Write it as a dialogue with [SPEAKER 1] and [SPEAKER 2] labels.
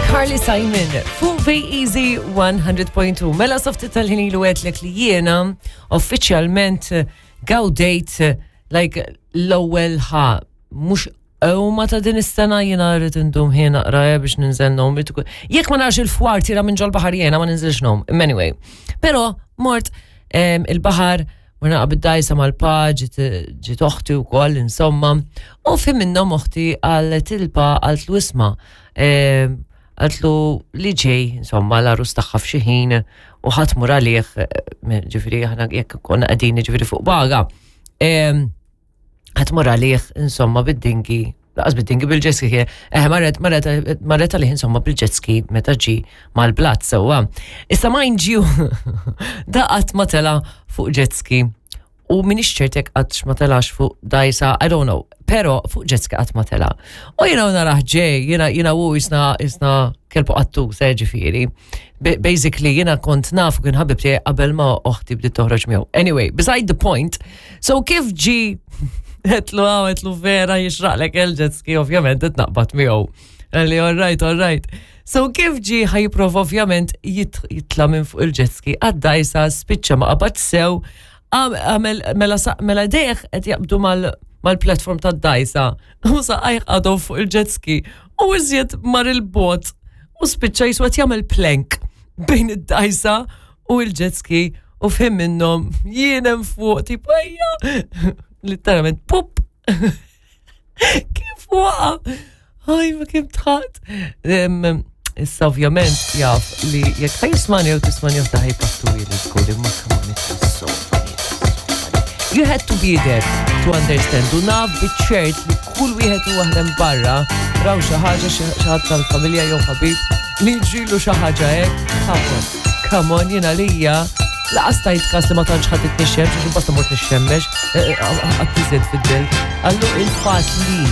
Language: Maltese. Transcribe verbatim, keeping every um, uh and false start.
[SPEAKER 1] Carly Simon fuq Easy one hundred point two. Mela sa ftit tal-ħin ilu għedtlek li jiena uffiċjalment gawdejt like l-ewwel ħa mhux ma ta' din is-sena. Jiena rrid indum ħin naqra eh, biex ninżel ngħum. Jekk ma narax il-fwar tira minn ġol-baħar, jiena ma ninżilx ngħum. Anyway. Però mort em, il-baħar, morna bid-dajsa mal-pa, ġiet ġiet oħti u koll, insomma. U fi minnhom oħti għal tilpa għalt isma. Qaltlu li ġej, insomma, l-għarus tagħha f'xi ħin u ħa tmur għalih, eh, ġifieri aħna jekk konna qegħdin ġifieri fuq baga. Em, Ħa tmur għalih, insomma, bid-dinghy, lanqas bid-dinghy, bil-jet ski, eh, marret, marret, marret għalih, insomma, bil-jet ski meta ġi mal-blat, sewwa. Issa, mind you, da qatt ma tela fuq jet ski u m'iniex ċert jekk qatt ma telax fuq dajsa, I don't know, pero fuq jet ski qatt ma tela. U jiena naraħ ġej, jiena jiena u jisna jisna kelbu qattu, ġifieri. Basically, jiena kont naf kien ħabib tiegħi qabel ma oħti bdiet toħroġ miegħu. Anyway, beside the point, so kif ġi għedtlu għaw, għedtlu vera jixraqlek il-jet ski, ovvjament, naqbad miegħu. Qalli, "All right, all right." So kif ġi ħa jipprova ovvjament jit- jitla minn fuq il-jet ski, għad-dajsa, spiċċa ma qabad sew, għamel mela sa- mela deħ qed jaqbdu mal mal-platform tad-dajsa u saqajh għadhom fuq il-jet ski u iżjed mar il-bot u spiċċa jiswa jagħmel plank bejn id-dajsa u il-jet ski u fim minnhom jien hemm fuq tipo ejja, literalment pup, kif waqa. Aj, ma kemm dħakt. Issa ovvjament jaf li jekk ħa jismagħni u tismagħni u ħa jpattu li żgur, imma come on, it was so funny, it was so funny. You had to be there to understand. U naf biċ-ċert li kull wieħed u waħda barra raw xi ħaġa, xi ħadd tal-familja jew ħabib li ġilu xi ħaġa hekk. Come on, come on, jiena lija lanqas tajt kas li ma tantx ħadd nixxemx, għax basta mort nixxemmex, għattiżed fid-del. Allu il-fatt li